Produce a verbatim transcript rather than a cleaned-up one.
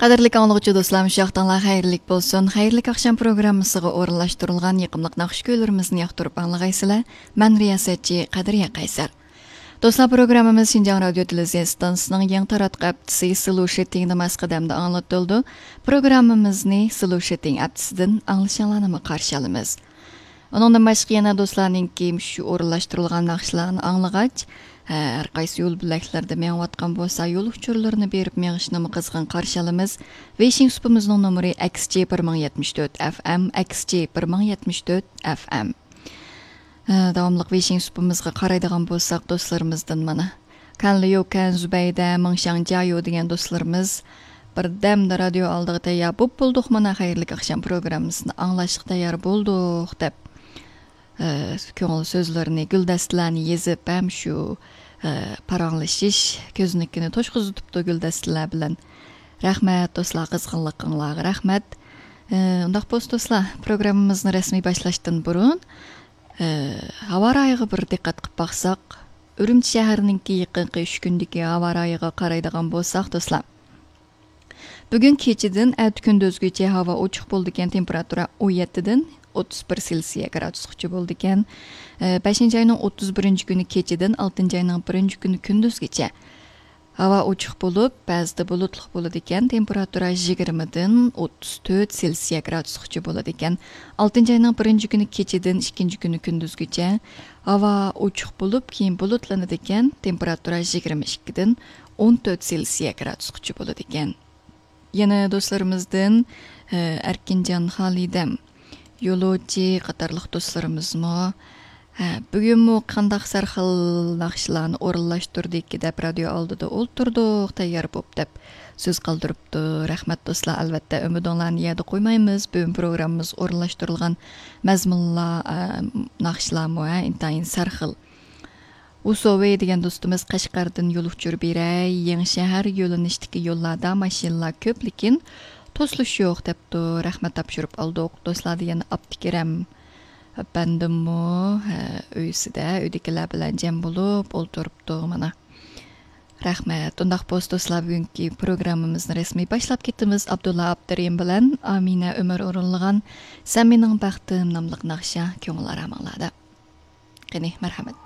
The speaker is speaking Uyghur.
قەدىرلىك ئاڭلىغۇچى دوستلار، مۇشۇ ۋاقتىڭلار خەيرلىك بولسۇن. خەيرلىك ئاخشام پروگراممىسىغا ئورۇنلاشتۇرۇلغان يېقىملىق ناخشا كۈيلىرىمىزنى ياقتۇرۇپ ئاڭلىغايسىلەر. مەن رىياسەتچى قەدرىيە قەيسەر. دوستلار، پروگراممىمىز شىنجاڭ رادىيو تېلېۋىزىيە ئىستانسىسىنىڭ يېڭى تاراتقۇ ھەپتىسى سلوشىتىڭدا ماس قەدەمدە ئاڭلىتىلىدۇ. پروگراممىمىزنى سلوشىتىڭ ھەپتىسىدىن ئاڭلىشىڭلارنىمۇ قارشى ئالىمىز. ئۇنىڭدىن باشقا يەنە دوستلارنىڭكى مۇشۇ ئورۇنلاشتۇرۇلغان ناخشىلارنى ئاڭلىغاچ، ھە، ھەر قايسى يول بۆلەكلەردە مېڭىۋاتقان بولسا، يول ئۇچۇرلىرىنى بېرىپ مېڭىشنىمۇ قىزغىن قارشى ئالىمىز. ۋېيشىڭ سۇپىمىزنىڭ نومۇرى ئەكس جى بىر مىڭ يەتمىش تۆت ئەف ئەم، ئەكس جى بىر مىڭ يەتمىش تۆت ئەف ئەم. ھە، داۋاملىق ۋېيشىڭ سۇپىمىزغا قارايدىغان بولساق، دوستلىرىمىزدىن مانا، كەنلىيۇ كەن زۇبەيدە، مىڭشاڭ جايۇ دېگەن دوستلىرىمىز بىردەمدە رادىيو ئالدىغا تەييار بوپ بولدۇق، مانا، خەيرلىك ئاخشام پروگراممىسىنى ئاڭلاشقا تەييار بولدۇق، دەپ، ئە، كۆڭۈل سۆزلىرىنى، گۈلدەستىلەرنى يېزىپ، ھەم شۇ، ئە، پاراڭلىشىش كۆزنىكىنى توشقۇزۇۋېتىپتۇ گۈلدەستىلەر بىلەن. رەھمەت، دوستلار، قىزغىنلىقىڭلارغا رەھمەت. ئە، ئۇنداق بولسا، دوستلار، پروگراممىمىزنى رەسمىي باشلاشتىن بۇرۇن، ئە، ھاۋا رايىغا بىر دىققەت قىلىپ باقساق، ئۈرۈمچى شەھىرىنىڭكى يېقىنقى ئۈچ كۈندىكى ھاۋا رايىغا قارايدىغان بولساق، دوستلار، بۈگۈن كېچىدىن ئەتە كۈندۈزگىچە ھاۋا ئوچۇق بولىدىكەن، تېمپېراتۇرا ئون يەتتىدىن ئوتتۇز بىر سېلسىيە گرادۇسقىچە بولىدىكەن. ئە، بەشىنچى ئاينىڭ ئوتتۇز بىرىنچى كۈنى كېچىدىن ئالتىنچى ئاينىڭ بىرىنچى كۈنى كۈندۈزگىچە ھاۋا ئوچۇق بولۇپ، بەزىدە بۇلۇتلۇق بولىدىكەن، تېمپېراتۇرا يىگىرمىدىن ئوتتۇز تۆت سېلسىيە گرادۇسقىچە بولىدىكەن. ئالتىنچى ئاينىڭ بىرىنچى كۈنى كېچىدىن ئىككىنچى كۈنى كۈندۈزگىچە ھاۋا ئوچۇق بولۇپ، كېيىن بۇلۇتلىنىدىكەن، تېمپېراتۇرا يىگىرمە ئىككىدىن ئون تۆت سېلسىيە گرادۇسقىچە بولىدىكەن. يەنە دوستلىرىمىزدىن، ئە، ئەركىنجان خالىدەم، يولۇچى قاتارلىق دوستلىرىمىزمۇ، ھە، بۈگۈنمۇ قانداق سەرخىل ناخشىلارنى ئورۇنلاشتۇردىكى دەپ رادىيو ئالدىدا ئولتۇردۇق، تەييار بوپ دەپ سۆز قالدۇرۇپتۇ. رەھمەت دوستلار، ئەلۋەتتە ئۈمىدىڭلارنى يەردە قويمايمىز. بۈگۈن پروگراممىمىز ئورۇنلاشتۇرۇلغان مەزمۇنلار، ئە، ناخشىلارمۇ، ھە، ئىنتايىن سەرخىل. ئۇسوۋى دېگەن دوستىمىز قەشقەردىن يول ئۇچۇر بېرەي، يېڭىشەھەر يۆنىلىشتىكى يوللاردا ماشىنىلار كۆپ، لېكىن توسۇلۇش يوق دەپتۇ. رەھمەت، تاپشۇرۇپ ئالدۇق. دوستلار دېگەن ئابدۇكېرەم ئەپەندىممۇ، ھە، ئۆيسىدە، ئۆيدىكىلەر بىلەن جەم بولۇپ ئولتۇرۇپتۇ مانا. رەھمەت. ئۇنداق بولسا دوستلار، بۈگۈنكى پروگراممىمىزنى رەسمىي باشلاپ كېتىمىز. ئابدۇللا ئابدۇرېھىم بىلەن ئامىنە ئۆمەر ئورۇنلىغان سەن مېنىڭ بەختىم ناملىق ناخشا كۆڭۈل ئارامىڭلاردا. قېنى، مەرھەمەت.